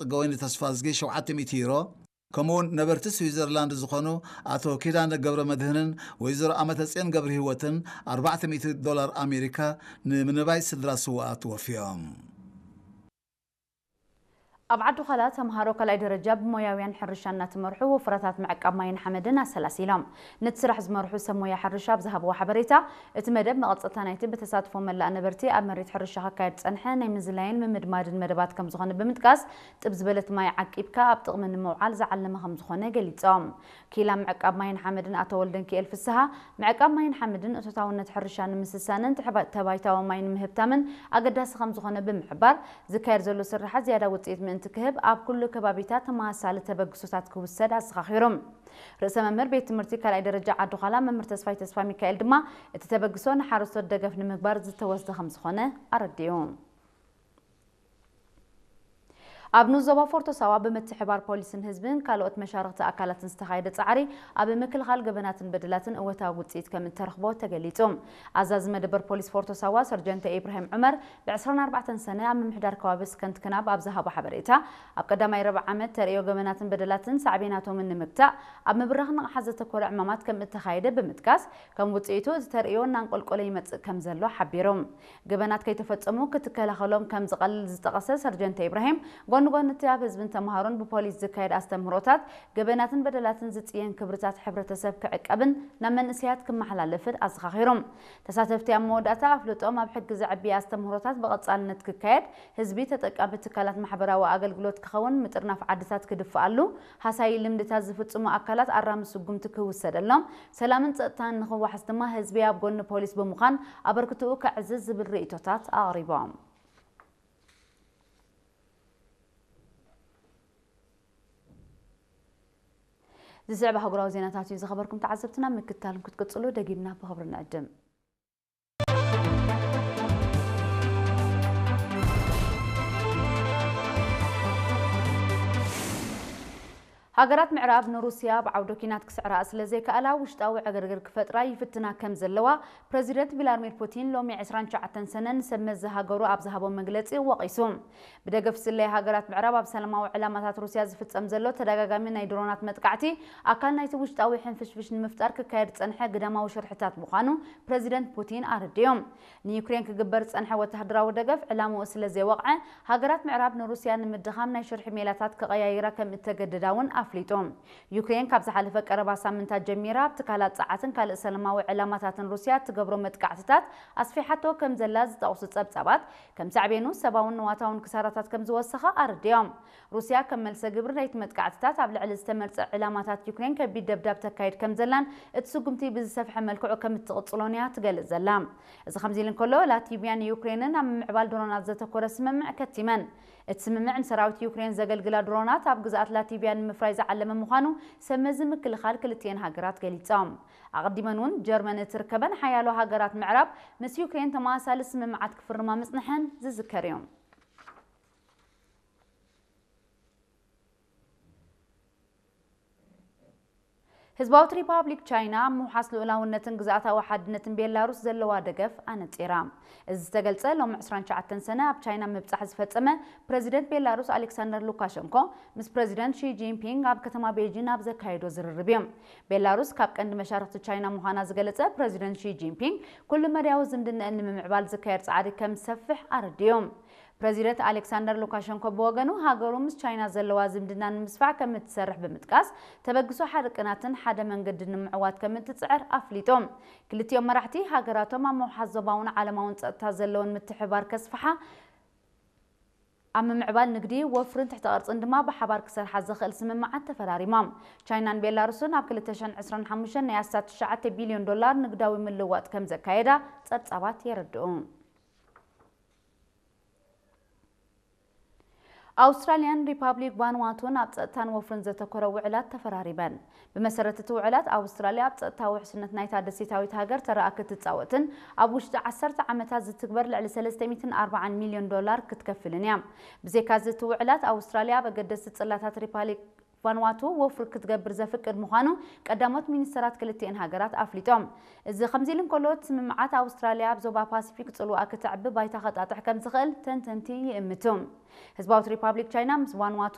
ጽገወይኒ ተስፋዝጊ ሸውዓተ ሚእቲ ዩሮ፣ ከምኡውን ነበርቲ ስዊዘርላንድ ዝኾኑ ኣቶ ኪዳነ ገብረ መድህንን ወይዘሮ ኣመተጽዮን ገብረ ህይወትን ኣርባዕተ ሚእቲ ዶላር ኣሜሪካ ንምንባይ ስድራ ስውኣት ወፍዮም። ኣብ ዓዲ ዃላ ተምሃሮ ካልኣይ ደረጃ ብሞያውያን ሕርሻ እናተመርሑ ወፍራታት ምዕቃብ ማይን ሓመድን ኣሰላሲሎም። ነቲ ስራሕ ዝመርሑ ሰብ ሞያ ሕርሻ ኣብ ዝሃብዎ ሓበሬታ፣ እቲ መደብ መቐጸልታ ናይቲ ብተሳትፎ መላእ ነበርቲ ኣብ መሬት ሕርሻ ክካየድ ዝጸንሐ ናይ ምዝላይን ምምድማድን መደባት ከም ዝኾነ ብምጥቃስ፣ ጥብ ዝበለት ማይ ዓቂብካ ኣብ ጥቕሚ ንምውዓል ዝዓለመ ከም ዝኾነ ገሊጾም። ኪላ ምዕቃብ ማይን ሓመድን ኣቶ ወልደንኪኤል ፍስሃ፣ ምዕቃብ ማይን ሓመድን እቶታውነት ሕርሻ ንምስሳንን ትሕባ-፣ ተባይታዊ ማይ ንምህብታምን ኣገዳሲ ከም ዝኾነ ብምሕባር፣ ዝካየድ ዘሎ ስርሓት ዝያዳ ውጽኢት ምእንቲ ክህብ ኣብ ኩሉ ከባቢታት ተመሳሳሊ ተበግሶታት ክውሰድ ኣዘኻኺሮም። ርእሰ መምህር ቤት ትምህርቲ ካልኣይ ደረጃ ዓዲ ዃላ መምህር ተስፋይ ተስፋ ሚካኤል ድማ፣ እቲ ተበግሶ ንሓረስቶት ደገፍ ንምግባር ዝተወስደ ከም ዝኾነ ኣረዲኡ። ኣብ ንኡስ ዞባ ፎርቶ ሳዋ ብምትሕባር ፖሊስን ህዝብን ካልኦት መሻርኽቲ ኣካላትን ዝተኻየደ ጻዕሪ ኣብ ምክልኻል ገበናትን በደላትን እወታዊ ውጽኢት ከም እተረኽቦ ተገሊጹ። ኣዛዚ መደበር ፖሊስ ፎርቶ ሳዋ ሰርጀንተ ኢብራሂም ዑመር ብ ዕስራን ኣርባዕተን ሰነ ኣብ ምምሕዳር ከባቢ ስከንት ክናብ ኣብ ዝሃቦ ሓበሬታ፣ ኣብ ቀዳማይ ረብዓ ዓመት ተርእዮ ገበናትን በደላትን ሳዕቤናቶምን ንምግታእ ኣብ ምብራኽ ንቕሓት ዘተኮረ ዕማማት ከም እተኻየደ ብምጥቃስ፣ ከም ውጽኢቱ እቲ ተርእዮ እናንቆልቆለ ይመጽእ ከም ዘሎ ሓቢሩ። ገበናት ከይተፈጸሙ ክትከላኸሎም ከም ዝቐልል ዝጠቐሰ ሰርጀንተ ኢብራሂም፣ ጎኒ ጎኒ እቲ ኣብ ህዝብን ተምሃሮን ብፖሊስ ዝካየድ ኣስተምህሮታት፣ ገበናትን በደላትን ዝጽየን ክብርታት ሕብረተሰብ ክዕቀብን ናብ መንእሰያት ክመሓላለፍን ኣዘኻኺሩ። ተሳተፍቲ ኣብ መወዳእታ ኣፍልጦም ኣብ ሕጊ ዘዕቢ ኣስተምህሮታት ብቐጻልነት ክካየድ፣ ህዝቢ ተጠቃሚ ትካላት ማሕበራዊ ኣገልግሎት ክኸውን፣ ምጥርናፍ ዓድታት ክድፍኣሉ፣ ሃሳዪ ልምድታት ዝፍጽሙ ኣካላት ኣራሚ ስጉምቲ ክውሰደሎም፣ ሰላምን ጸጥታን ንኽዋሕስ ድማ ህዝቢ ኣብ ጎኒ ፖሊስ ብምዃን ኣበርክትኡ ከዕዝዝ ዝብል ርእይቶታት ኣቕሪቦም። ዝስዕብ ኣህጉራዊ ዜናታት እዩ ዝኸበርኩም ተዓዘብትና፣ ምክትታል ክትቅጽሉ ደጊምና ብኽብሪ ንዕድም። ሃገራት ምዕራብ ንሩስያ ኣብ ዓውደ ኲናት ክስዕራኣ ስለ ዘይከኣላ፣ ውሽጣዊ ዕግርግር ክፈጥራ ይፍትና ከም ዘለዋ ፕረዚደንት ቭላድሚር ፑቲን ሎሚ ዕስራን ትሽዓተን ሰነ ንሰብ መዚ ሃገሩ ኣብ ዝሃቦ መግለጺ ወቒሱ። ብደገፍ ስለያ ሃገራት ምዕራብ ኣብ ሰላማዊ ዕላማታት ሩስያ ዝፍጸም ዘሎ ተደጋጋሚ ናይ ድሮናት መጥቃዕቲ ኣካል ናይቲ ውሽጣዊ ሕንፍሽፍሽ ንምፍጣር ክካየድ ዝጸንሐ ግዳማዊ ሽርሕታት ምዃኑ ፕረዚደንት ፑቲን ኣረዲኦም። ንዩክሬን ክግበር ዝጸንሐ ወተሃደራዊ ደገፍ ዕላምኡ ስለ ዘይወቕዐ፣ ሃገራት ምዕራብ ንሩስያ ንምድኻም ናይ ሽርሒ ሜላታት ክቐያይራ ከም እተገደዳ እውን ኣፍሊጡ። ዩክሬን ካብ ዝሓለፈ ቀረባ ሳምንታት ጀሚራ ኣብ ትካላት ጸዓትን ካልእ ሰላማዊ ዕላማታትን ሩስያ እትገብሮ መጥቃዕትታት ኣስፊሓቶ ከም ዘላ ዝጠቕሱ ጸብጻባት፣ ከም ሳዕቤኑ ሰብኣውን ንዋታውን ክሳራታት ከም ዝወሰኸ ኣረዲኦም። ሩስያ ከም መልሰ ግብሪ ናይቲ መጥቃዕትታት ኣብ ልዕሊ ዝተመርጸ ዕላማታት ዩክሬን ከቢድ ደብዳብ ተካይድ ከም ዘላን እቲ ስጉምቲ ብዝሰፍሐ መልክዑ ከም እትቕጽሎን እያ ትገልጽ ዘላ። እዚ ከምዚ ኢሉ እንከሎ፣ ላቲቪያን ዩክሬንን ኣብ ምምዕባል ድሮናት ዘተኮረ ስምምዕ ከቲመን። እቲ ስምምዕ ንሰራዊት ዩክሬን ዘገልግላ ድሮናት ኣብ ግዝኣት ላቲቪያ ንምፍራይ ዝዓለመ ምዃኑ ሰብ መዚ ምክልኻል ክልቲኤን ሃገራት ገሊጾም። ኣቐዲመን እውን ጀርመን እትርከበን ሓያሎ ሃገራት ምዕራብ ምስ ዩክሬን ተመሳሳሊ ስምምዓት ክፍርማ ምጽንሐን ዝዝከር እዩ። ህዝባዊት ሪፓብሊክ ቻይና ኣብ ምውሓስ ልኡላውነትን ግዝኣታዊ ሓድነትን ቤላሩስ ዘለዋ ደገፍ ኣነጺራ። እዚ ዝተገልጸ ሎሚ ዕስራን ትሽዓተን ሰነ ኣብ ቻይና ምብጻሕ ዝፈጸመ ፕረዚደንት ቤላሩስ ኣሌክሳንደር ሉካሸንኮ ምስ ፕረዚደንት ሺ ጂንፒንግ ኣብ ከተማ ቤጂን ኣብ ዘካየዶ ዝርርብ እዩ። ቤላሩስ ካብ ቀንዲ መሻርኽቲ ቻይና ምዃና ዝገለጸ ፕረዚደንት ሺ ጂንፒንግ፣ ኩሉ መዳያዊ ዝምድናኣን ንምምዕባል ዝካየድ ጻዕሪ ከም ዝሰፍሕ ኣረዲኡ። ፕረዚደንት ኣሌክሳንደር ሉካሸንኮ ብወገኑ፣ ሃገሩ ምስ ቻይና ዘለዋ ዝምድና ንምስፋሕ ከም እትሰርሕ ብምጥቃስ፣ ተበግሶ ሓደ ቅናትን ሓደ መንገድን ንምዕዋት ከም እትጽዕር ኣፍሊጡ። ክልቲኦም መራሕቲ ሃገራቶም ኣብ ምውሓስ ዞባውን ዓለማውን ጸጥታ ዘለወን ምትሕብባር ከስፍሓ፣ ኣብ ምምዕባል ንግዲ፣ ወፍርን ትሕተ ቅርጽን ድማ ብሓባር ክሰርሓ ዘኽእል ስምምዓት ተፈራሪሞም። ቻይናን ቤላሩስን ኣብ ክልተ ሽሕን ዕስራን ሓሙሽተን ናይ ኣስታት ትሽዓተ ቢልዮን ዶላር ንግዳዊ ምልውዋጥ ከም ዘካየዳ ጸብጻባት የረድኡ። ኣውስትራልያን ሪፓብሊክ ቫንዋቱን ኣብ ጸጥታን ወፍርን ዘተኮረ ውዕላት ተፈራሪመን። ብመሰረት እቲ ውዕላት፣ ኣውስትራልያ ኣብ ጸጥታዊ ውሕስነት ናይታ ደሴታዊት ሃገር ተረኣ ክትጻወትን ኣብ ውሽጢ ዓሰርተ ዓመታት ዝትግበር ልዕሊ ሰለስተ ሚእትን ኣርባዓን ሚልዮን ዶላር ክትከፍልን እያ። ብዘይካዚ፣ እቲ ውዕላት ኣውስትራልያ ኣብ ኣገደስቲ ጽላታት ሪፓብሊክ ቫንዋቱ ወፍሪ ክትገብር ዘፍቅድ ምዃኑ ቀዳሞት ሚኒስተራት ክልቲኤን ሃገራት ኣፍሊጦም። እዚ ከምዚ ኢሉ እንከሎ፣ እቲ ስምምዓት ኣውስትራልያ ኣብ ዞባ ፓሲፊክ ጽልዋ ክተዕቢ ባይታ ከጣጥሕ ከም ዝኽእል ተንተንቲ ይእምቱ። ህዝባዊት ሪፓብሊክ ቻይና ምስ ቫንዋቱ